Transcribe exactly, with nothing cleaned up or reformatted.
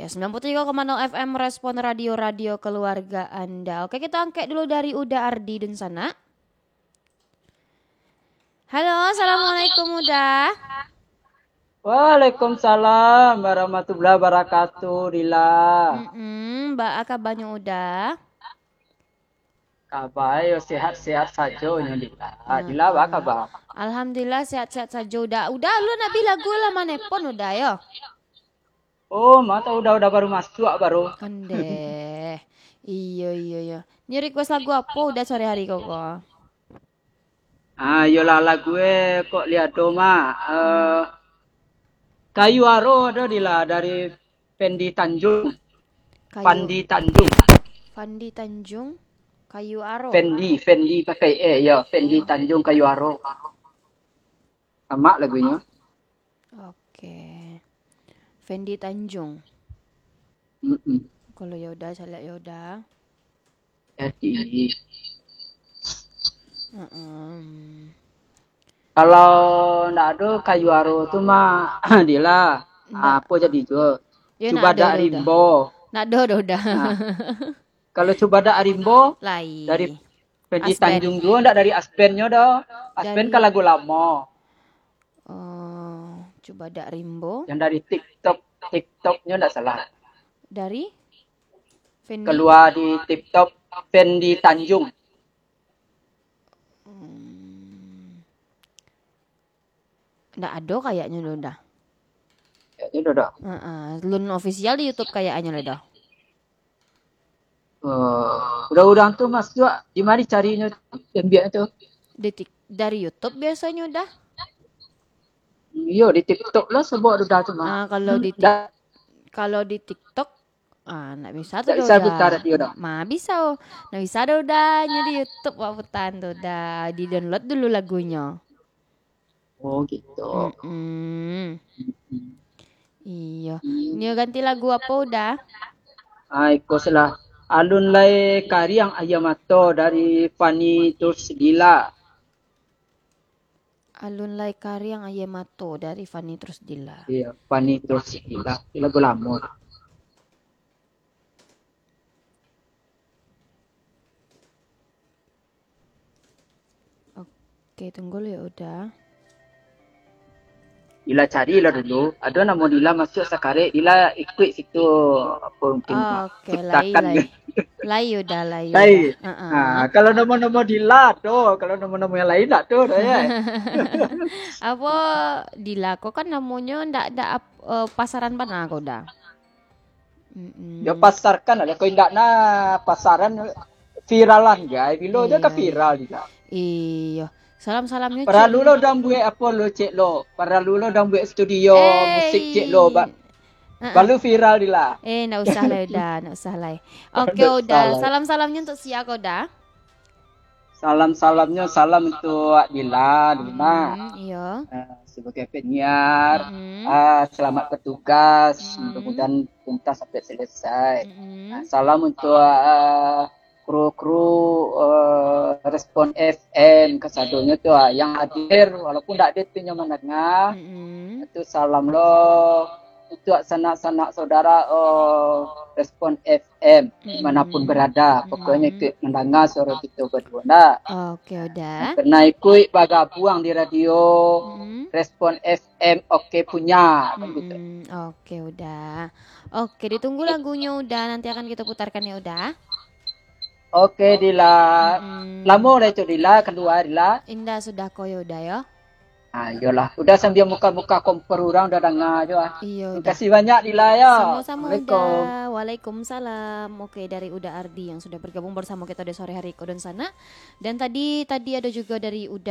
Sembilan puluh tiga koma nol F M Respon Radio, radio keluarga Anda. Oke, kita angkat dulu dari Uda Ardi Dunsanak. Halo, assalamualaikum Uda. Waalaikumsalam warahmatullahi wabarakatuh, Dila. Mm-mm, baa kabanyo Uda? Kaba yo sehat-sehat sajo nyo, Dila. Ah, Dila, baa kaba? Alhamdulillah, sehat-sehat sajo Uda. Uda, lu nak bi lagu lah manepon Uda yo. Oh, mata Uda, Uda baru masuak baru. Ondeh. Iyo, iyo, iyo. Ni request lagu apo Uda sore hari ko, ko? Ah, iyolah lagu e kok liado mah. Eh, Kayu Aro ado, Dila, dari Fendi Tanjung. Kayu Fandi Tanjung. Fandi Tanjung, Kayu Aro. Fendi, Fendi pakai e, yo. Fendi Tanjung, Kayu Aro. Amak lagunyo. Oke. Fendi Tanjung. Mm-mm. Kalau yo Uda, caliak yo Uda. Jadi, Heeh. Kalau ndak ado Kayu Aro tu mah, Dila, Ndak. Apo jadi tu? Yo, Cubadak Rimbo. Ndak ado doh Uda. Nah. Kalau Cubadak Rimbo, lai. Dari Fendi Aspen. Tanjung juo, ndak dari Aspennyo doh. Aspen dari kan lagu lamo. Oh, Cubadak Rimbo. Yang dari TikTok, TikToknyo ndak salah. Dari? Fendi? Keluar di TikTok Fendi Tanjung. Hmm. Ndak ado kayaknyo doh Uda. Kayaknyo doh, doh. Heeh, lun official di YouTube kayaknyo lah doh. Oh, urang-urang tu masuak di mari carinyo, ambiak tu? Di tik-, dari YouTube biasonyo Uda. Iyo, di TikTok lah sebab Uda tu mah. Ah, kalau di tik-, kalau di TikTok, ah, ndak bisa tu doh Uda. Ndak bisa putar radio doh. Ma, bisa, oh. Ndak bisa doh Uda, nyo di YouTube wak putar tu Uda. Di-download dulu lagunyo. Oh, gitu. Mm-mm. Mm-mm. Iyo. Nio ganti lagu apo Uda? Ah, iko salah. Alun lai kariang aia mato dari Fani Terus Dila. Alun lai kariang aia mato dari Fani Terus Dila. Iya, Fani Terus Dila. Lagu lamo. Oke, tunggu lu ya Uda. Dila cari lah dulu. Ado namo Dila masuak sakarek, Dila ikuik situ, apo mungkin. Oh, oke, lai, ciptakan lai. Lai Uda, lai Uda. Lai. Heeh. Ha, kalau namo-namo Dila tu, kalau namo-namo yang lain ndak tu doh, ya. Apo Dila ko kan namonyo ndak, ndak ap-, eh, pasaran bana ko Uda. Mm-mm. Yo pasarkan lah, kok indak nah pasaran viralan gai, bilo je ka viral Dila. Iyo. Salam-salamnyo, Cik. Paralu lo dang buek apo lo, Cik lo? Paralu lo dang buek studio musik, Cik lo? Ba-, heeh. Balu viral Dila. Eh, ndak usah lah Uda, ndak usah lah. Oke Uda, salam-salamnyo untuk sia ko Uda? Salam-salamnyo, salam untuk Dila, Dila. Hmm, iyo. Eh, sebagai penyiar, hmm, ah, selamat bertugas, hmm, mudah-mudahan tuntas sampai selesai. Hmm. Ah, salam untuk, ah, kru-kru, eh, Respon F M, kasadonyo tu, ah, yang hadir, walaupun ndak hadir tu nyo mandanga. Hmm. Tu salam lo untuk sanak-sanak saudara, eh, Respon F M, mm-mm, manapun berada, pokoknyo ikut mandanga suaro kito baduo, ndak? Oke, Uda. Pernah ikut bagabuang di radio, mm-mm, Respon F M, oke punya, kan gitu. Mm-mm, oke, Uda. Oke, ditunggu lagunyo, Uda. Nanti akan kita putarkan ya, Uda. Oke, Dila. Mm-mm. Lamo lah itu, Dila, kalua, Dila? Indak, sudah ko yo, Uda, yo. Ah, iyolah. Uda sambia muka-muka kompor urang, Uda danga jo, ah. Iyo, Uda. Makasih banyak, Dila, yo. Samo-samo, Uda. Assalamualaikum. Waalaikumsalam. Oke, dari Uda Ardi yang sudah bergabung bersama kita di sore hari ko Dunsanak. Dan tadi, tadi ada juga dari Uda